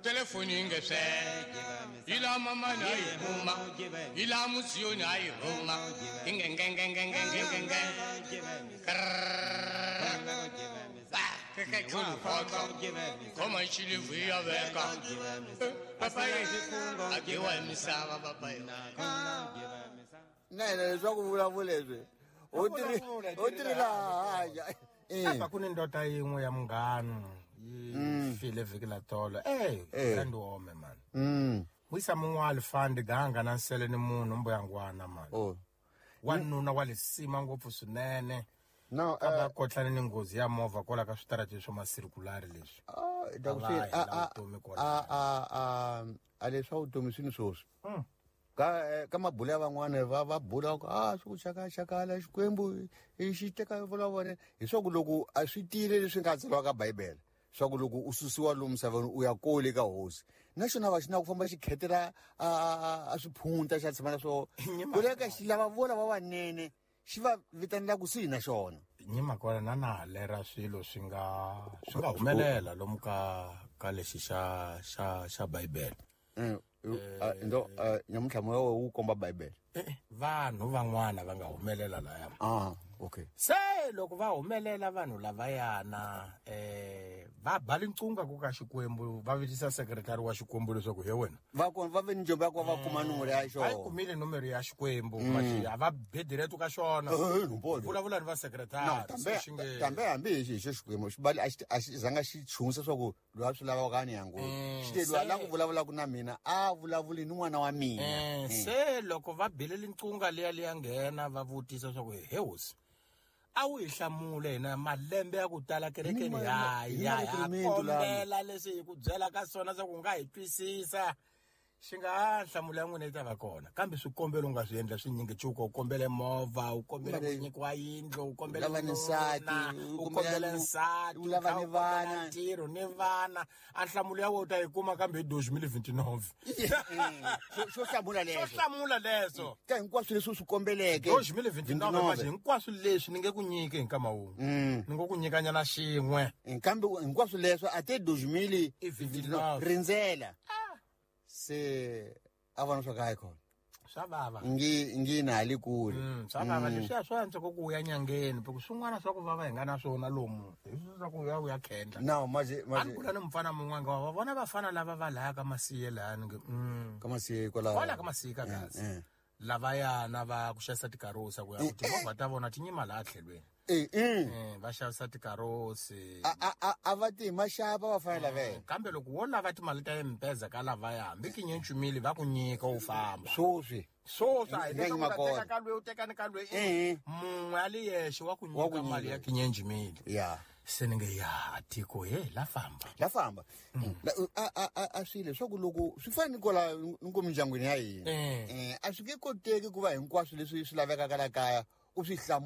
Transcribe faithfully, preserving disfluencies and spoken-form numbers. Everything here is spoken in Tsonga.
Telefoni nge se ila mama na yi huma ila musiyo na yi huma nge nge nge nge nge nge nge ke ke ke koma chili vuya veka papa ye agiwa misava papa ye na leswaku vulavula leswi u tirhi u tirhi laha apa ku ni ndoda yin'we ya munghana yi file vhiki la tolo eh and wome man mm wisa mun'wali fandi ganga na nsele ni munhu mbuyangwana man oh wanuna wa lisima ngopfu swinene no a va kotlana ni nghozi ya movha kwala ka switarati swa masirkulari leswi ah da ku a a a a a leswa vutomi swi ni swoswi ka ka mabula ya van'wana va va bula ku a swi ku chaka chakala Xikwembu i xi teka vula vona hi swa ku loko a swi tiyile leswi nga tsariwa ka Bibele swa ku loko u susiwa lomu misaveni u ya kole ka hosi naxona va xi na ku famba xi khetela a a swiphunta xa tshama na swo ku le ka xi lava vola va vanene xi va vitanela kusuhi na xona nyima kona na na lera swilo swi nga swi nga humelela lomu ka ka lexi xa xa xa Bibele ndo nyamuntlha moya wu komba Bibele vanhu van'wana va nga humelela laya ah okay se loko va humelela vanhu lavayana eh va ba lincunga ku ka Xikwembu va vitisa secretary wa Xikwembu leswaku he wena va ku va ve ni njombo ya ku va kuma nomoro ya xona a yi kumile nomoro ya Xikwembu manje a va bediretu ka xona vulavula ni va secretary no tambe hambi hi xi Xikwembu xi bali a xi zanga xi chunsa swa ku loyi a swi lavaka ni yangu xi te loyi a lava ku vulavulaka na mina a vulavuli ni n'wana wa mina se loko va bile lincunga liya liya nghena va vutisa swa ku he hosi a wu hi hlamule hina malembe ya ku tala kerekeni ya ya ya kombela leswi hi ku byela ka swona swa ku nga hi twisisa xi nga hlamula ya n'wina yi ta va kona kambe swikombelo u nga swi endla swinyingi cuka u kombele movha u kombele ku nyikiwa yindlu u kombele nsati u kombele nsati u lava ni vana ntirho ni vana a nhlamulo ya wena u ta yi kuma kambe hi deux mille vingt-neuf xo hlamula leswo xo hlamula leswo ka hinkwaswo leswi u swi kombeleke deux mille vingt-neuf manje hinkwaswo leswi ni nge ku nyiki hi nkama wun'we ni ngo ku nyikanyana xin'we kambe hinkwaswo leswo a te deux mille vingt-neuf rindzela se a vona swa ka khona swa vava ngi ngi na li kule swa vava leswiya swa antswa ku u ya nyangeni because swin'wana swa ku vava hi nga na swona lomu hi swi swa ku ya u ya khendla no manje manje a ni kula ni mufana mun'wana nga va vona vafana lava va laya ka masiye laya ni nge ka masiye kwala kwala ka masiye ka kasi lavayana va ku xavisa tikarosi ku ya ku timovha ta vona ti nyima laha tlhelweni eh eh va xavisa tikarosi a a a va ti maxava va fanele lavela kambe loko wo lava timali ta mpeza ka lavaya hambi kinyenchumile va ku nyika u famba swoswi swoswi a hi teka ka lweyi u teka ni ka lweyi mun'we a li yexe wa ku nyika mali ya kinyenchumile ya se ni nge ya tiko he la famba la famba a a a swi leswaku loko swi fana ni kwala ni ko mindyangwini ya hina eh a swi nge koteki ku va hinkwaswo leswi swi lavekaka la kaya u swi hlamula.